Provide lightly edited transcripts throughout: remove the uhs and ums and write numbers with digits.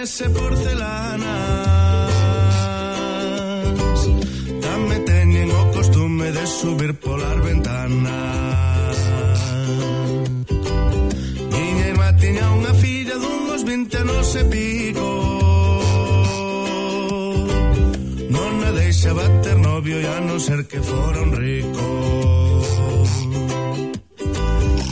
ese porcelanas tamén teñen o costume de subir polas ventanas. Miña irmá tiña unha filla dunhos 20 anos e pico, non a deixaba ter novio e a non ser que fora un rico.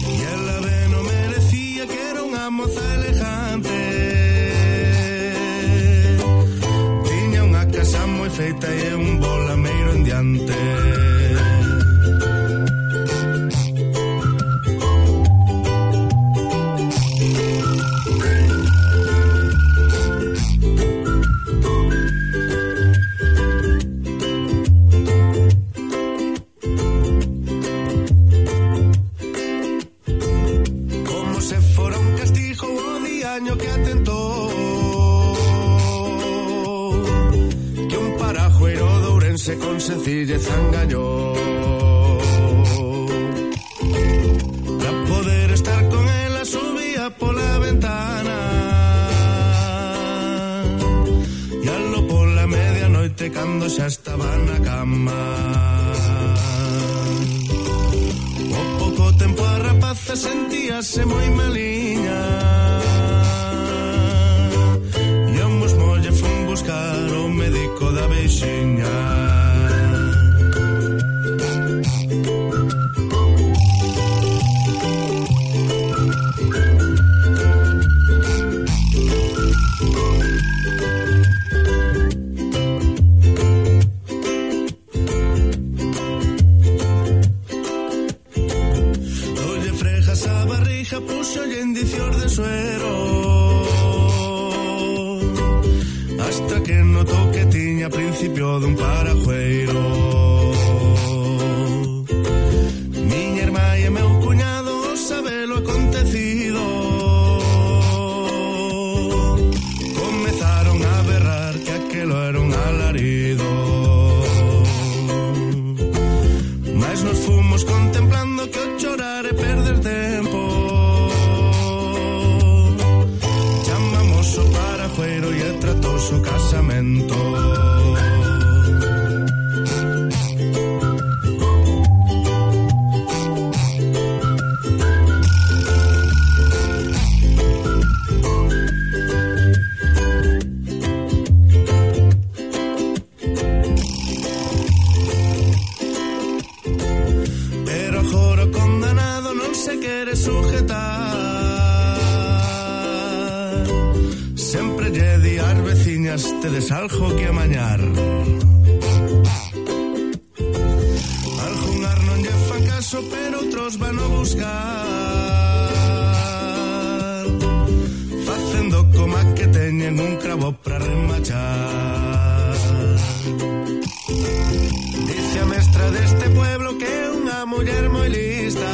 E ela ben o merecía, que era unha moza elegante, tiña unha casa moi feita e un bolameiro en diante. Que atentou que un parajueiro de Ourense con sencillez engañou para poder estar con ela. Subía pola ventana e alo pola medianoite cando xa estaba na cama. O pouco tempo a rapaza sentíase moi maliña, buscar o médico da veixiña. Dolle frejas a barriga, puxolle indicios de suero, hasta que notou que tiña principio dun parajueiro. Miña irmá e meu cuñado sabelo acontecido, comezaron a berrar que aquelo era un alarido. Mas nos fomos contemplando que o chorar é perder tempo. Chamamos o parajueiro e tratou o casamento. Pero agora o condenado non se quere sujetar, sempre lle di ás veciñas: tedes algo que amañar. Algunhas non lle fan caso, pero outros van a buscar, facendo coma que teñen un cravo para remachar. Dice a mestra deste pueblo que é unha muller moi lista,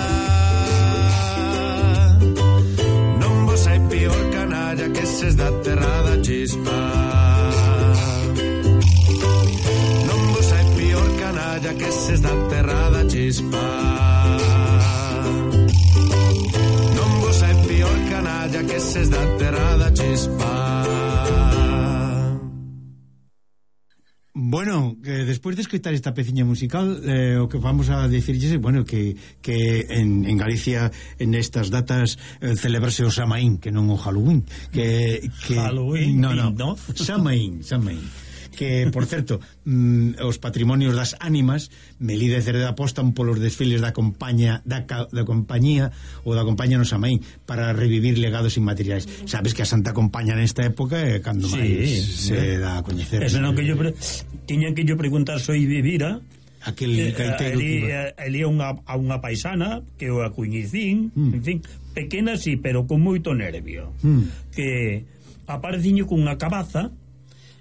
non vos hai pior canalla que ses da terra da chispa. Non vos hai pior canalla que ses da terra da chispa. Non vos hai pior canalla que ses da terra da chispa. Bueno, despois de escoitar esta peciña musical, o que vamos a dicirlles é, bueno, que en Galicia en estas datas celebrase o Samaín, que non o Halloween, que Halloween, no, Samaín. Que, por certo, os patrimonios das ánimas, Melide e Cereda apostan polos desfiles da compañía ou da compañía no Samaín para revivir legados inmateriais. Sabes que a Santa Compaña nesta época é cando máis se dá a coñecer. Eso non que yo tiñan que yo preguntar soy vivira aquel gaiteiro ali a unha paisana que o acuñicín, en fin, pequena sí, pero con moito nervio, que apareciño cunha cabaza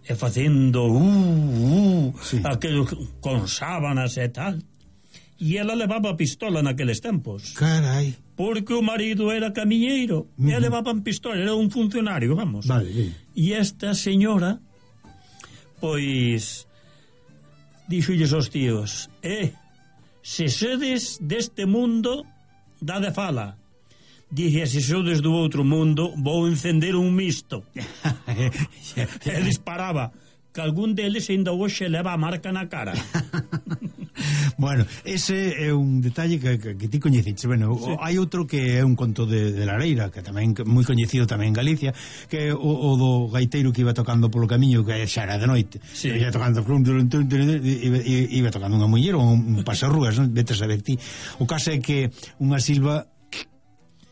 e facendo sí, aquel con sábanas e tal, e ela levaba pistola naqueles tempos. Carai. Porque o marido era camiñeiro e levaban pistola, era un funcionario, vamos. Vale, sí. E esta señora pois dixolles aos tíos: se sedes deste mundo, dade fala, dixe, se sou desde o outro mundo, vou encender un misto. E disparaba, que algún deles ainda hoxe leva a marca na cara. Bueno, ese é un detalle que ti coñeciches. Bueno, sí. Hai outro que é un conto de Lareira, que tamén moi coñecido tamén en Galicia, que é o do gaiteiro que iba tocando polo camiño, que xa era de noite, sí. Iba tocando iba tocando unha muller ou un pasarrúas, non? Vete a saber ti. O caso é que unha silva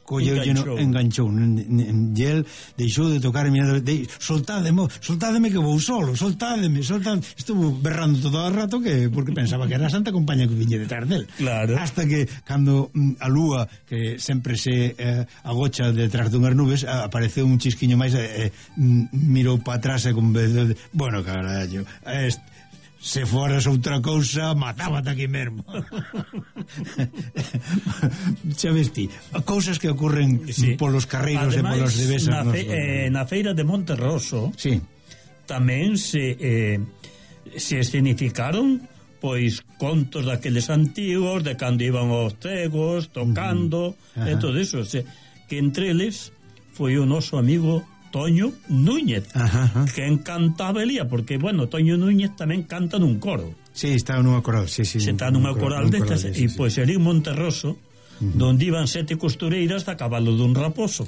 enganchou e el deixou de tocar soltádeme que vou solo, soltádeme. Estuvo berrando todo o rato porque pensaba que era a Santa Compaña que viñe detrás del, claro. Hasta que cando a lúa, que sempre se agocha detrás dunhas nubes, apareceu un chisquiño máis, mirou para atrás e con bueno, carallo, se foras outra cousa, matábate aquí mesmo. Xa ves ti, cousas que ocurren, sí, polos carreiros. Ademais, e polos devesas na feira de Monterroso, sí, tamén se escenificaron pois contos daqueles antigos, de cando iban os cegos tocando, e todo eso, que entre eles foi o noso amigo Toño Núñez, que encantaba Elía, porque, bueno, Toño Núñez tamén canta nun coro. Sí, está nunha coral, sí. Se está nunha coral destas, e pois era en Monterroso, donde iban 7 costureiras a cabalo dun raposo.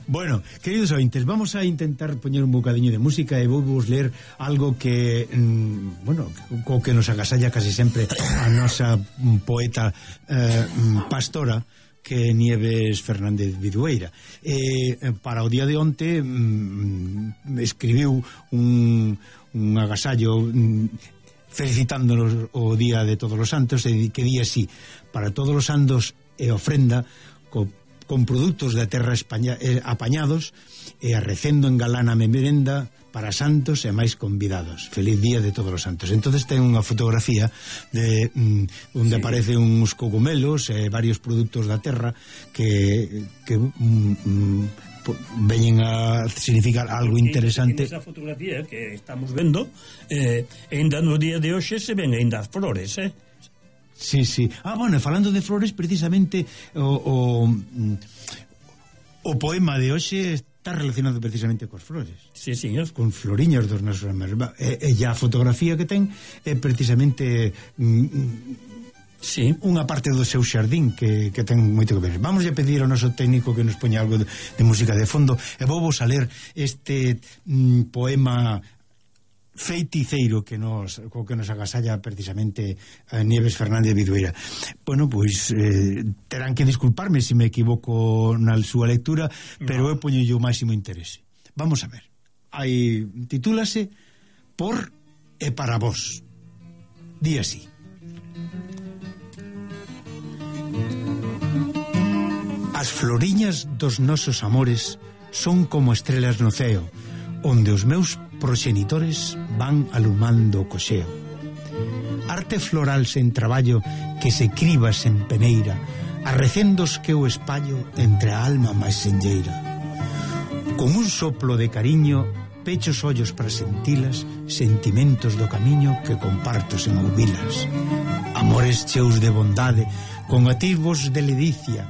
Bueno, queridos ointes, vamos a intentar poñer un bocadiño de música e vou vos ler algo que, bueno, co que nos agasalla casi sempre a nosa poeta pastora, que Nieves Fernández Vidueira. Para o día de onte escribiu un agasallo felicitándonos o día de Todos os Santos, e que di así: para todos os santos e ofrenda con produtos da terra apañados, e arrecendo en galana merenda para santos e máis convidados. Feliz día de Todos os Santos. Entonces ten unha fotografía de onde aparecen uns cogumelos e varios produtos da terra que veñen a significar algo interesante. En esa fotografía que estamos vendo, ainda no día de hoxe se ven ainda as flores, Sí. Bueno, falando de flores, precisamente o poema de hoxe está relacionado precisamente coas flores. Sí, señor. Con floriñas dos nosos amores. E a fotografía que ten é precisamente unha parte do seu xardín que ten moito que ver. Vamos a pedir ao noso técnico que nos poña algo de música de fondo, e vou vos a ler este poema feiticeiro que nos agasalla precisamente a Nieves Fernández Vidueira. Bueno, pois terán que disculparme se me equivoco na súa lectura, pero eu poño o máximo interese. Vamos a ver. Titúlase Por e para vos. Di así: as floriñas dos nosos amores son como estrelas no ceo, onde os meus proxenitores van alumando o coxeo. Arte floral sen traballo que se criba sen peneira, arrecendos que o espallo entre a alma máis senlleira. Con un soplo de cariño pecho os ollos para sentilas, sentimentos do camiño que comparto sen ouvilas. Amores cheus de bondade, con atisbos de ledicia,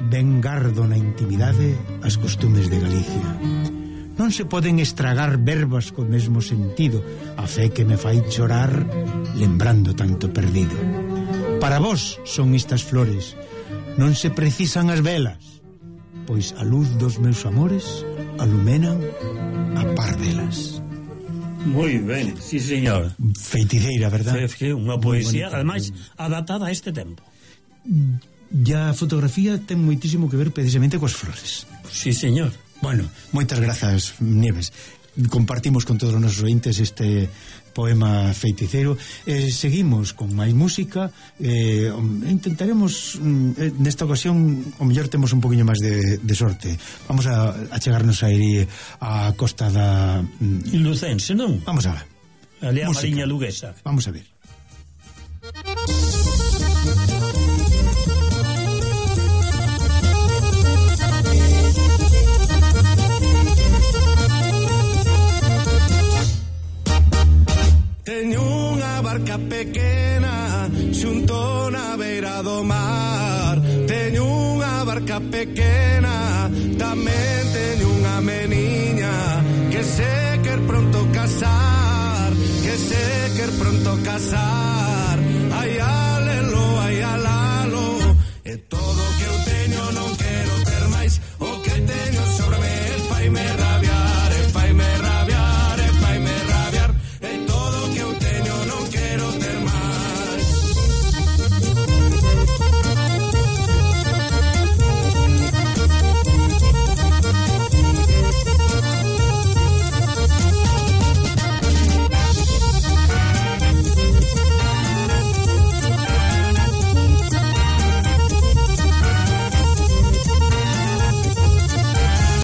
ben gardo na intimidade as costumes de Galicia. Non se poden estragar verbas co mesmo sentido, a fe que me fai chorar lembrando tanto perdido. Para vos son estas flores, non se precisan as velas, pois a luz dos meus amores alumenan a par delas. Moi ben, sí, señor. Feiticeira, verdad? Unha poesía, ademais, adaptada a este tempo. Ya a fotografía ten moitísimo que ver precisamente coas flores. Sí, señor. Bueno, moitas grazas, Nieves. Compartimos con todos os nosos ointes este poema feiticeiro. Seguimos con máis música. Intentaremos nesta ocasión, o mellor temos un poquinho máis de sorte. Vamos a chegarnos a ir a costa da Lucense, non? Vamos a ver. Ali a Mariña Luguesa. Vamos a ver. Teño unha barca pequena xunto na beira do mar. Teño unha barca hija pequena tamén teño unha meniña que se quer pronto casar, que se quer pronto casar.